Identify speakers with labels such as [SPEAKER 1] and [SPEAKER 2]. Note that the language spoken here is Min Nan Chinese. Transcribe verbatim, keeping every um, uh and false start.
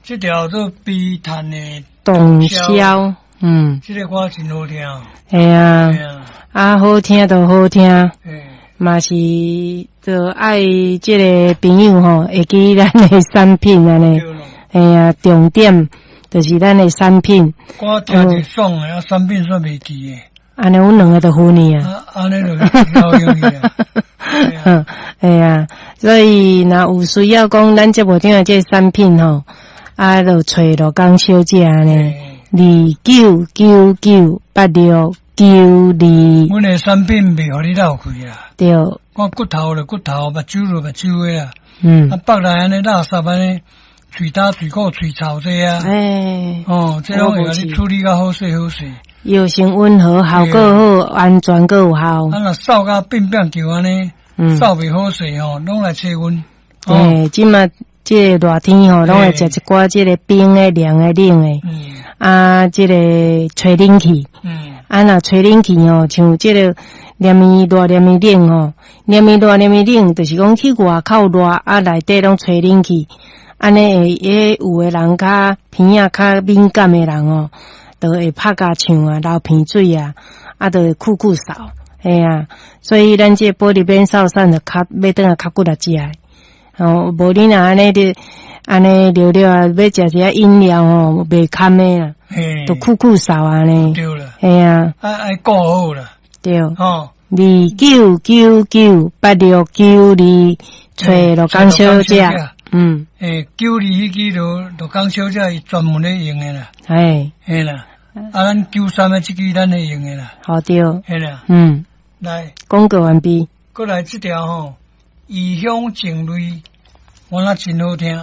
[SPEAKER 1] 這條做悲嘆的
[SPEAKER 2] 洞簫，嗯，
[SPEAKER 1] 這個歌真好聽。
[SPEAKER 2] 嘿啊，啊好聽就好聽，嘛是就愛這個朋友吼，會記咱的產品按呢，嘿啊，重點就是咱的產品。
[SPEAKER 1] 歌聽就爽的，啊，產品煞袂記的。
[SPEAKER 2] 按呢，阮兩个就分去啊。
[SPEAKER 1] 按呢就好用去啊。
[SPEAKER 2] 嘿啊，所以若有需要講，咱節目頂的這個產品吼，啊，就揣羅江小姐按呢，二九九九八六九二。
[SPEAKER 1] 阮的產品袂予你落氣啦。
[SPEAKER 2] 對。
[SPEAKER 1] 看骨頭就骨頭，目睭就目睭的啦。
[SPEAKER 2] 嗯。
[SPEAKER 1] 啊，腹內按呢垃圾按呢，喙焦、喙苦、喙臭這啊。
[SPEAKER 2] 欸。
[SPEAKER 1] 哦，這攏會共你處理甲好勢好勢。
[SPEAKER 2] 藥性溫和，效果好，安全閣有效。
[SPEAKER 1] 啊，若掃甲變變球按呢，掃袂好勢吼，攏來揣阮。
[SPEAKER 2] 欸，這馬這個熱天吼，攏會食一寡這個冰的、涼的、冷的。
[SPEAKER 1] 嗯。
[SPEAKER 2] 啊，這個吹冷氣。
[SPEAKER 1] 嗯。
[SPEAKER 2] 啊，若吹冷氣吼，像這個連綿熱、連綿冷吼，連綿熱、連綿冷，就是講去外口熱，啊，內底攏吹冷氣，按呢會，彼有的人較鼻仔較敏感的人哦，就會拍甲唱啊，流鼻水啊，啊，就會咳咳嗽，嘿啊，所以咱這個保利免嗽散就較欲轉來較骨力食的。哦，無你若按呢咧，按呢尿尿啊，欲食一下飲料吼，袂堪的啊，就咳咳嗽按呢。
[SPEAKER 1] 對啦。
[SPEAKER 2] 嘿啊。
[SPEAKER 1] 愛愛顧好啦。
[SPEAKER 2] 對。
[SPEAKER 1] 哦。
[SPEAKER 2] 二九九九八六九二，揣羅江小姐。嗯。
[SPEAKER 1] 欸，九二彼支就羅江小姐伊專門咧用的啦。
[SPEAKER 2] 嘿。
[SPEAKER 1] 嘿啦。啊，咱九三的這支咱咧用的啦。
[SPEAKER 2] 好對。
[SPEAKER 1] 嘿啦。
[SPEAKER 2] 嗯。
[SPEAKER 1] 來。
[SPEAKER 2] 廣告完畢。
[SPEAKER 1] 閣來這條吼，異鄉情淚，我那真好聽。